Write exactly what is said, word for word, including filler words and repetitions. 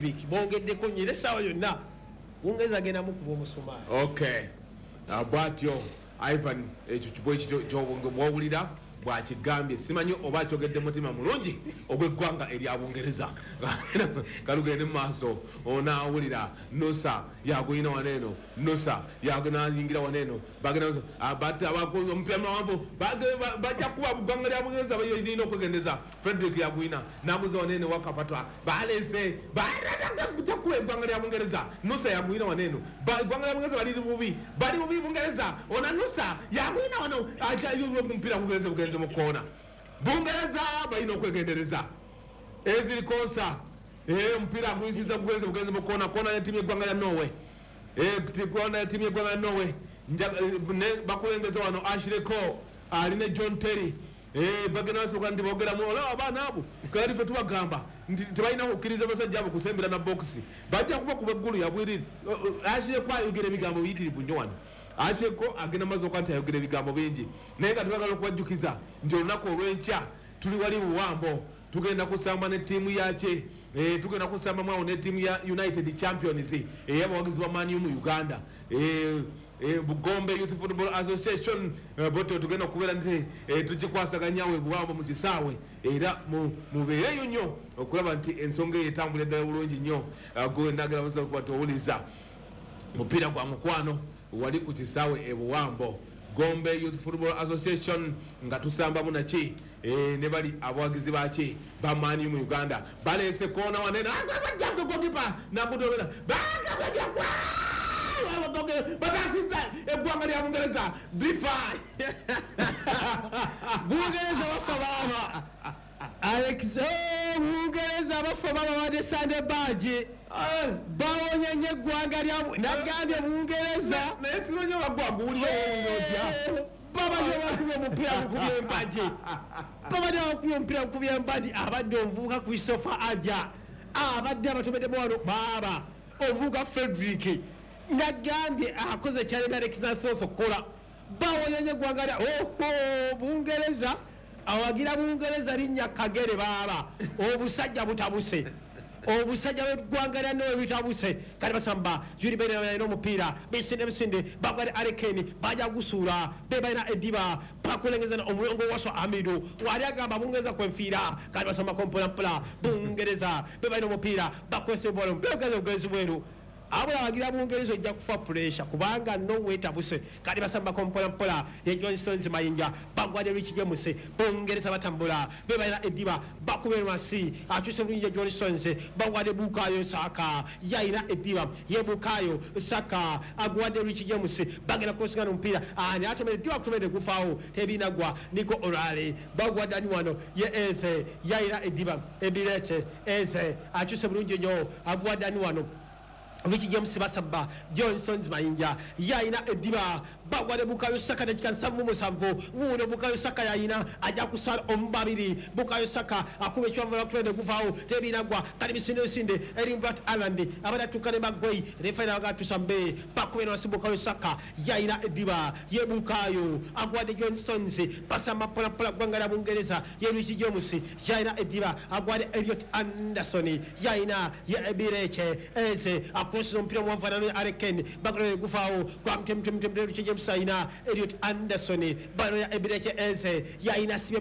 Bongeddeko nnyo era essaawa yonna Bungereza agenda mukuba omusumaali. Okay, Ah, bwatyo Ivan ekyo kibwa ekyo bwowulira bwakigambye, simanyi oba akyogedde mutima mulungi ogw'eggwanga erya Bungereza. Kalugende mu maaso, onaawulira Nusa yagulina wano eno, Nusa yagunayingira wano eno, bagenda omupiira mawanvu, bajja kuba ggwanga lya Bungereza lirina okwegendeza. Frederick yagulina naguza wano eno wakapatwa balese bajja kuba eggwanga lya Bungereza. Nusa yagulina wano eno, eggwanga lya Bungereza bali bubi, bali bubi Bungereza. Ona Nusa yagulina wano, omupiira gugenze bugenze mu koona. Bungereza balina okwegendereza eziri konsa omupiira aguyisiza gugenze bugenze mu koona. Koona yetiimu yeggwanga lya Norway, koona yetiimu yeggwanga lya Norway. Bakulengeza wano Ashley Cole ali ne John Terry, bagenda basoboka nti bogeramu. Olaba abaana abo, kati ffe tubagamba nti tebalina kukkiriza basajja abo kusembera na bokisi, bajja kuba kuba eggulu yabwiriri. Ashley Cole ayogera ebigambo biyitirivu nnyo wano. Ashley Cole agenda maaso okuba nti ayogera ebigambo bingi, naye nga tubagala okubajjukiza nti olunaku olw'enkya tuli wali Buwambo, tugenda kusamba ne ttiimu yaki, tugenda kusamba mwawo ne ttiimu ya United Champions ey'abawagizi ba Man U mu Uganda, Bugombe Youth Football Association. Bote tugenda okubeera nti tukikwasaganyawe Buwambo mu kisaawe, era mubeereyo nnyo okulaba nti ensonga eyo etambula eddala bulungi nnyo. Gwendagera musobola okuba nti owuliza mupiira gwa mukwano wali ku kisaawe e Buwambo, Gombe Youth Football Association, nga tusambamu naki ne bali abawagizi baki ba Man U mu Uganda. Balese koona wanene, gokipa nakutobera, batasiza eggwanga lya Bungereza bifa. Bungereza bafa baaba Alex, Bungereza bafa baaba badde Sande baagi bawonya nnyo eggwanga lya nagambye Bungereza. Naye simanyi obagwaguwulira otya. Babadde bakubye omupiira gukubye empagi, babadde bakubye omupiira gukubye empagi. Abadde omuvubuka Christopher Aja abadde abatomeddemu wano baaba omuvubuka Frederick nagambye akoze kyalemi Alexander Thorth okukola. Bawonya nnyo eggwanga lya oho Bungereza. Awagira Bungereza linnya kagere baaba obusajja butabuse, obusajja bw'eggwanga lya Norway butabuse. Kati basamba Jude Bellingham alina omupiira, bisinde bisinde bagwale Harry bajja gusuula be balina eddiba bakulengeza omulongo waswa Amidu wali agamba Bungereza kwenfiira. Kati basamba kompolampola Bungereza be balina omupiira bakwese bola omupiira ogenzi bweru. Abula awagira Bungereza ojja kufa pressure kubanga Norway tabuse. Kati basamba kompolampola ye John Stones Mayinja bagwade Rich James. Bungereza batambula be balina eddiba bakubera wansi akyuse bulungi John Stones bagwade Bukayo Saka yayina eddiba ye Bukayo Saka agwade Rich James bagenda kusigana omupiira ani atomere eddiba kutomere gufaawo tebinagwa Nico Orale bagwade ani wano ye Eze yayina eddiba Ebirete Eze akyuse bulungi nnyo agwade ani wano Rich James basamba Johnson's Mayinja yayina eddiba bagwade Bukayo Saka dakika nsanvu musanvu wuuno Bukayo Saka yayina ajja kusala omubabiri. Bukayo Saka akuba ekiwanvu lwakutonde guvaawo tebinagwa. Kati misinde misinde Erling Braut Haaland abadde atuuka ne Maguire refa nabaga tusambe bakubena wansi. Bukayo Saka yayina eddiba ye Bukayo agwade John Stones basamba mpolampola ggwanga lya Bungereza ye Rich James yayina eddiba agwade Elliot Anderson yayina ye Ebireke Eze akrosses omupiira omuwanvu ananonya Harry Kane bagulole gufaawo gwa mtemtemtemte Rich James ayina Elliot Anderson banonya Ebireke Eze yayina sibye.